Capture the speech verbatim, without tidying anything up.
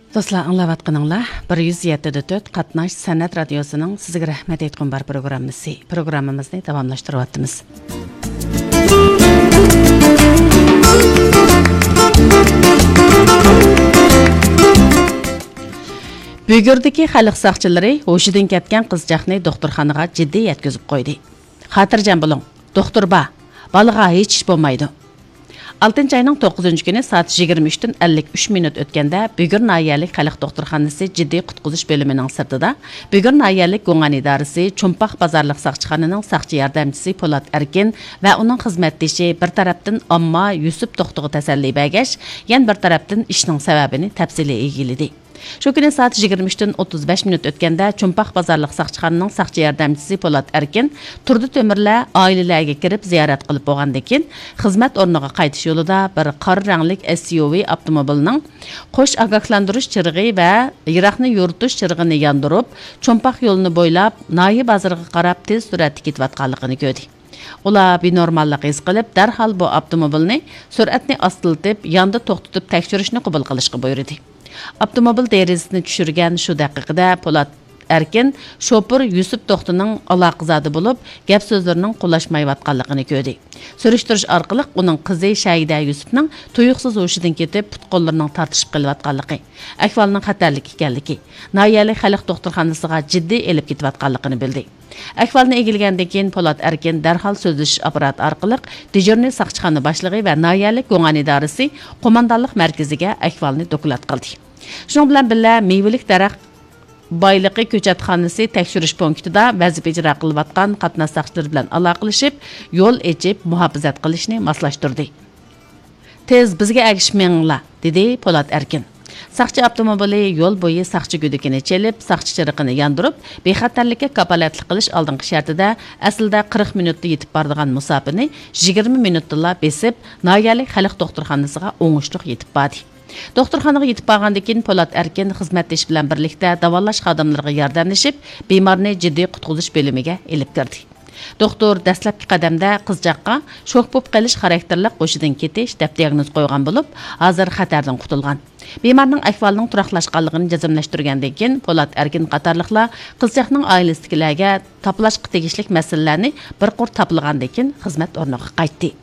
دوستلار، ئاڭلاۋاتقىنىڭلار بىر يۈز يەتتە دە تۆت قاتناش سەنئەت رادىيوسىنىڭ سىزگە رەھمەت ئېيتقۇم بار پروگراممىسى. پروگراممىمىزنى داۋاملاشتۇرۇۋاتىمىز. بۈگۈردىكى خەلق ساقچىلىرى ھوشىدىن كەتكەن قىزچاقنى دوختۇرخانىغا جىددىي يەتكۈزۈپ قويدى. خاتىرجەم بولۇڭ، دوختۇر بار، بالىغا ھېچ ئىش بولمايدۇ. ئالتىنچى ئاينىڭ توققۇزىنچى كۈنى سائەت يىگىرمە ئۈچتىن ئەللىك ئۈچ مىنۇت ئۆتكەندە، بۈگۈر ناھىيەلىك خەلق دوختۇرخانىسى جىددىي قۇتقۇزۇش بۆلۈمىنىڭ سىرتىدا، بۈگۈر ناھىيەلىك گۇڭئەن ئىدارىسى چومپاق بازارلىق ساقچىخانىنىڭ ساقچى ياردەمچىسى پولات ئەركىن ۋە ئۇنىڭ خىزمەتدىشى بىر تەرەپتىن ئامما يۈسۈپ توختىغا تەسەللى بەرگەچ، يەنە بىر تەرەپتىن ئىشنىڭ سەۋەبىنى تەپسىلىي ئىگىلىدى. شۇ كۈنى سائەت يىگىرمە ئۈچتىن ئوتتۇز بەش مىنۇت ئۆتكەندە، چومپاق بازارلىق ساقچىخانىنىڭ ساقچى ياردەمچىسى پولات ئەركىن تۇردى تۆمۈرلەر ئائىلىلەرگە كىرىپ زىيارەت قىلىپ بولغاندىن كېيىن، خىزمەت ئورنىغا قايتىش يولىدا بىر قارا رەڭلىك ئېس يۇ ۋى ئاپتوموبىلنىڭ قوش ئاگاھلاندۇرۇش چىرىغى ۋە يىراقنى يورۇتۇش چىرىغىنى ياندۇرۇپ، چومپاق يولىنى بويلاپ، ناھىيە بازىرىغا قاراپ تېز سۈرئەتتە كېتىۋاتقانلىقىنى كۆردى. ئۇلار بىنورماللىق ھېس قىلىپ، دەرھال بۇ ئاپتوموبىلنى سۈرئەتنى ئاستىلىتىپ، ياندا توختىتىپ تەكشۈرۈشنى قوبۇل قىلىشقا بۇيرۇدى. ئاپتوموبىل دېرىزىسىنى چۈشۈرگەن شۇ دەقىقىدە پولات ئەركىن شوپۇر يۈسۈپ توختىنىڭ ئالاقىزادە بولۇپ، گەپ سۆزلىرىنىڭ قولاشمايۋاتقانلىقىنى كۆردى. سۈرۈشتۈرۈش ئارقىلىق ئۇنىڭ قىزى شەھىدە يۈسۈپنىڭ تۇيۇقسىز ھوشىدىن كېتىپ، پۇت قوللىرىنىڭ تارتىشىپ قېلىۋاتقانلىقى، ئەھۋالنىڭ خەتەرلىك ئىكەنلىكى، ناھىيەلىك خەلق دوختۇرخانىسىغا جىددىي ئېلىپ كېتىۋاتقانلىقىنى بىلدى. ئەھۋالنى ئىگىلىگەندىن كېيىن، پولات ئەركىن دەرھال سۆزلىشىش ئاپپاراتى ئارقىلىق دېژۇرنىي ساقچىخانا باشلىقى ۋە ناھىيەلىك گۇڭئەن ئىدارىسى قوماندانلىق مەركىزىگە ئەھۋالنى دوكلات قىلدى. شۇنىڭ بىلەن بىللە، مېۋىلىك دەرەخ بايلىقى كۆچەتخانىسى تەكشۈرۈش پونكىتىدا ۋەزىپە ئىجرا قىلىۋاتقان قاتناش ساقچىلىرى بىلەن ئالاقىلىشىپ، يول ئېچىپ مۇھاپىزەت قىلىشنى ماسلاشتۇردى. تېز بىزگە ئەگىشىپ مېڭىڭلار، دېدى پولات ئەركىن. ساقچى ئاپتوموبىلى يول بويى ساقچى گۈدۈكىنى چېلىپ، ساقچى چىرىقىنى ياندۇرۇپ، بىخەتەرلىككە كاپالەتلىك قىلىش ئالدىنقى شەرتىدە، ئەسلىدە قىرىق مىنۇتتا يېتىپ بارىدىغان مۇساپىنى يىگىرمە مىنۇتتىلا بېسىپ، ناھىيەلىك خەلق دوختۇرخانىسىغا ئوڭۇشلۇق يېتىپ باردى. دوختۇرخانىغا يېتىپ بارغاندىن كېيىن، پولات ئەركىن خىزمەتدىشى بىلەن بىرلىكتە داۋالاش خادىملىرىغا ياردەملىشىپ، بىمارنى جىددىي قۇتقۇزۇش بۆلۈمىگە ئېلىپ كىردى. دوختۇر دەسلەپكى قەدەمدە قىزچاققا شوك بولۇپ قېلىش خاراكتېرلىك ھوشىدىن كېتىش دەپ دىياگنوز قويغان بولۇپ، ھازىر خەتەردىن قۇتۇلغان. بىمارنىڭ ئەھۋالىنىڭ تۇراقلاشقانلىقىنى جەزملەشتۈرگەندىن كېيىن، پولات ئەركىن قاتارلىقلار قىزچاقنىڭ ئائىلىسىدىكىلەرگە تاپىلاشقا تېگىشلىك مەسىلىلەرنى بىر قۇر تاپىلىغاندىن كېيىن خىزمەت ئورنىغا قايتتى.